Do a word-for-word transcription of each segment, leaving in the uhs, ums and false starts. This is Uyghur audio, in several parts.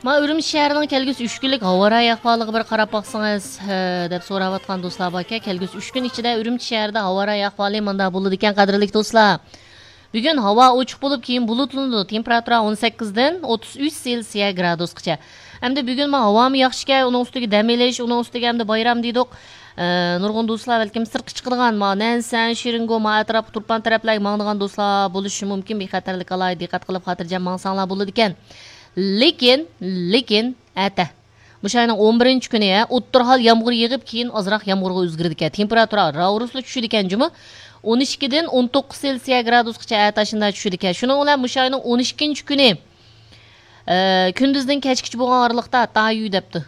ما ئۈرۈمچى شەھىرىنىڭ كەلگۈسى ئۈچ كۈنلۈك ھاۋا رايى ئەھۋالىغا بىر قاراپ باقسىڭىز، ھە، دەپ سوراۋاتقان دوستلار باركەن. كەلگۈسى ئۈچ كۈن ئىچىدە ئۈرۈمچى شەھىرىدە ھاۋا رايى ئەھۋالى مۇنداق بولىدىكەن، قەدىرلىك دوستلار. بۈگۈن ھاۋا ئوچۇق بولۇپ، كېيىن بۇلۇتلىنىدۇ. تېمپېراتۇرا ئون سەككىزدىن ئوتتۇز ئۈچ سېلسىيە گرادۇسقىچە. ئەمدى بۈگۈن ما ھاۋامۇ ياخشىكەن، ئۇنىڭ ئۈستىگە دەم ئېلىش، ئۇنىڭ ئۈستىگە ئەمدى بايرام دېدۇق. ئە، نۇرغۇن دوستلار بەلكىم سىرتقا چىقىدىغان، ما نەنسەن، شېرىنگو، ما ئەتراپقا تۇرپان تەرەپلەرگە ماڭىدىغان دوستلار بولۇشى مۇمكىن. بىخەتەرلىك ئالاھىدە دىققەت قىلىپ، خاتىرجەم ماڭساڭلار بولىدىكەن. لېكىن، لېكىن، ئەتە. مۇشۇ ئاينىڭ ئون بىرىنچى كۈنى، ھە، ئوتتۇرا ھال يامغۇر يېغىپ، كېيىن ئازراق يامغۇرغا ئۆزگىرىدىكەن. تېمپېراتۇرا راۋرۇسلا چۈشىدىكەن جۇمۇ. ئون ئىككىدىن ئون توققۇز سېلسىيە گرادۇسقىچە ئەتە ئاشۇنداق چۈشىدىكەن. شۇنىڭ بىلەن مۇشۇ ئاينىڭ ئون ئىككىنچى كۈنى، ئە، كۈندۈزدىن كەچكىچە بولغان ئارىلىقتا تايۇ دەپتۇ.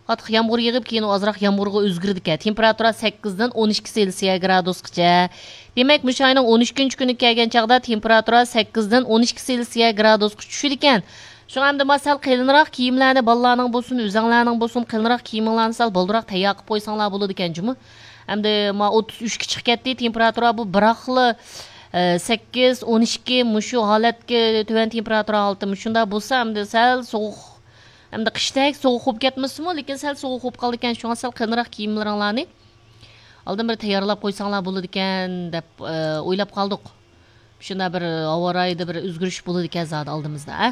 قاتتىق يامغۇر يېغىپ، كېيىن ئازراق يامغۇرغا ئۆزگىرىدىكەن. تېمپېراتۇرا سەككىزدىن ئون ئىككى سېلسىيە گرادۇسقىچە. دېمەك، مۇشۇ ئاينىڭ ئون ئىككىنچى كۈنىگە كەلگەن چاغدا تېمپېراتۇرا سەككىزدىن ئون ئىككى سېلسىيە گرادۇسقا چۈشىدىكەن. شۇڭا ئەمدى ما سەل قېلىنراق كىيىملەرنى، بالىلارنىڭ بولسۇن، ئۆزەڭلارنىڭ بولسۇن، قېلىنراق كىيىمىڭلارنى سەل بالدۇراق تەييار قىلىپ قويساڭلار بولىدىكەن جۇمۇ. ئەمدى ما ئوتتۇز ئۈچكە چىقىپ كەتتى تېمپېراتۇرا، بۇ بىراقلا، ئە، سەككىز، ئون ئىككى مۇشۇ ھالەتكە، تۆۋەن تېمپېراتۇرا ھالىتى مۇشۇنداق بولسا، ئەمدى سەل سوغۇق، ئەمدى قىشتەك سوغۇق بولۇپ كەتمىسىمۇ، لېكىن سەل سوغۇق بولۇپ قالىدىكەن. شۇڭا سەل قېلىنراق كىيىملىرىڭلارنى ئالدىن بىر تەييارلاپ قويساڭلار بولىدىكەن دەپ، ئە، ئويلاپ قالدۇق. شۇنداق بىر ھاۋا رايىدا بىر ئۆزگىرىش بولىدىكەن زادى ئالدىمىزدا، ئە.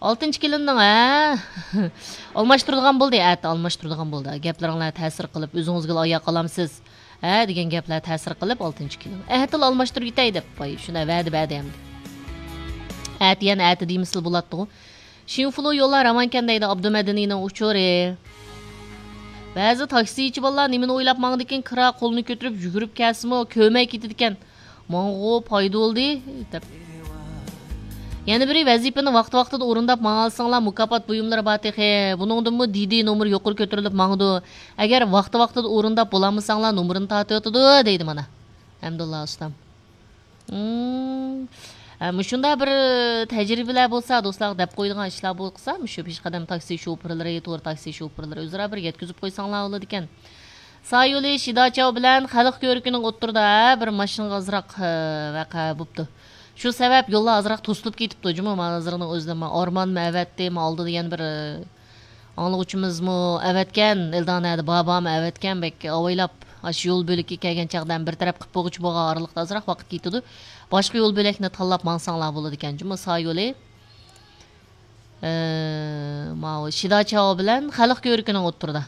ئالتىنچى كېلىننىڭ، ھە؟ ئالماشتۇرىدىغان بولدى، ئەتە ئالماشتۇرىدىغان بولدى. گەپلىرىڭلار تەسىر قىلىپ، ئۆزىڭىزگىلا ئاياق ئالامسىز، ھە، دېگەن گەپلەر تەسىر قىلىپ، ئالتىنچى كېلىن. ئەتىلا ئالماشتۇرۇپ يېتەي دەپ، ۋاي، شۇنداق ۋەدە بەردى ئەمدى. ئەتە يەنە ئەتە دېمىسىلا بولاتتىغۇ. شىنفۇلۇ يوللار راۋانكەن دەيدۇ ئابدۇمەدەنىنىڭ ئۇچۇرى. بەزى تاكسىچى بالىلار نېمىنى ئويلاپ ماڭىدىكىن، كىرا قولىنى كۆتۈرۈپ يۈگۈرۈپ كەلسىمۇ كۆرمەي كېتىدىكەن. ماڭىغۇ پايدا بولدى دەپ. يەنە بىرى، ۋەزىپىنى ۋاقتى-ۋاقتىدا ئورۇنداپ ماڭالىساڭلار، مۇكاپات بۇيۇملىرى بار تېخى. بۇنىڭدىنمۇ دىدى نومۇر يۇقىرى كۆتۈرۈلۈپ ماڭىدۇ. ئەگەر ۋاقتى-ۋاقتىدا ئورۇنداپ بولالمىساڭلار، نومۇرىنى تارتىۋېتىدۇ، دەيدۇ مانا. ھەمدۇللا ئۇستام. مم. ھە، مۇشۇنداق بىر تەجرىبىلەر بولسا، دوستلارغا دەپ قويىدىغان ئىشلار بولسا، مۇشۇ پېشقەدەم تاكسى شوپۇرلىرى، تور تاكسى شوپۇرلىرى ئۆزئارا بىر يەتكۈزۈپ قويساڭلار بولىدىكەن. سايولى شىداچاۋ بىلەن خەلق كۆۋرۈكىنىڭ ئوتتۇرىدا بىر ماشىنىغا ئازراق، ھە، ۋەقە بوپتۇ. شۇ سەۋەب يوللار ئازراق توسۇلۇپ كېتىپتۇ جۇمۇ. مانا ھازىرنىڭ ئۆزىدە ما ئارمانمۇ ئەۋەتتى، ما ئالدىدا يەنە بىر، ئاڭلىغۇچىمىزمۇ ئەۋەتكەن، ئېلدانەدە بابامۇ ئەۋەتكەن، بەك ئاۋايلاپ، ئاشۇ يول بۆلىكىگە كەلگەن چاغدا ھەم بىر تەرەپ قىلىپ بولغۇچە بولغان ئارىلىقتا ئازراق ۋاقىت كېتىدۇ. باشقا يول بۆلەكنى تاللاپ ماڭساڭلار بولىدىكەن جۇمۇ، سايولى. ئە، ماۋۇ شىداچاۋ بىلەن خەلق كۆۋرۈكىنىڭ ئوتتۇرىدا.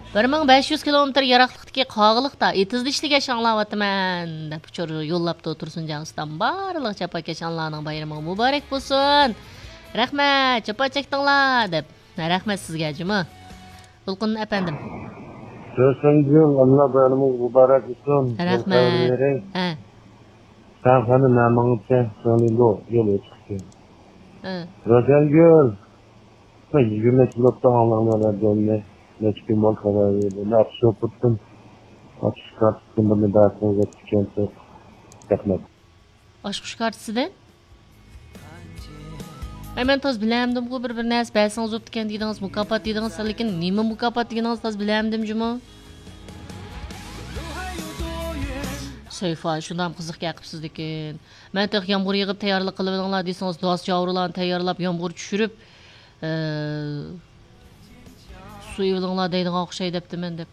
بىر مىڭ بەش يۈز كىلومېتىر يىراقلىقتىكى قاغىلىقتا ئېتىزدا ئىشلىگەچ ئاڭلاۋاتىمەن، دەپ ئۇچۇر يوللاپتۇ تۇرسۇنجان ئۇستام. بارلىق جاپاكەش ئانىلارنىڭ بايرىمىغا مۇبارەك بولسۇن. رەھمەت، جاپا چەكتىڭلار، دەپ. رەھمەت سىزگە جۇمۇ. دولقۇن ئەپەندىم. تۇرسۇنگۈل، ئاللا بايرىمىڭىز مۇبارەك بولسۇن. رەھمەت. ھە. سەن قېنى نەمىڭىزچە سۆڭلىدۇ يول ئېچىقتى. ھە. روشەنگۈل، يىگىرمە كىلو تاڭلارنى رادىيونى نەچچە كۈن بولدى خەۋەر بەردى. نە ئاپشوپۇتتىن، ئاپشوكارتتىن بىرنى بەرسىڭىز دەپتىكەنسىز. رەھمەت. ئاچقۇچ كارتىسىدىن؟ ئەي، مەن تاز بىلەمدىمغۇ، بىر، بىر نەرسە بەرسىڭىز بوپتىكەن دېدىڭىز، مۇكاپات دېدىڭىز، لېكىن نېمە مۇكاپات دېگىنىڭىز تاز بىلەمدىم جۇمۇ. سەيفا، شۇنداق قىزىق گەپ قىپسىز لېكىن. مەن تېخى يامغۇر يېغىپ تەييارلىق قىلىۋېلىڭلار دېسىڭىز، داس جاۋۇرلارنى تەييارلاپ، يامغۇر چۈشۈرۈپ، ئە، سۇ ئېلىۋېلىڭلار دەيدىغان ئوخشاي دەپتىمەن دەپ.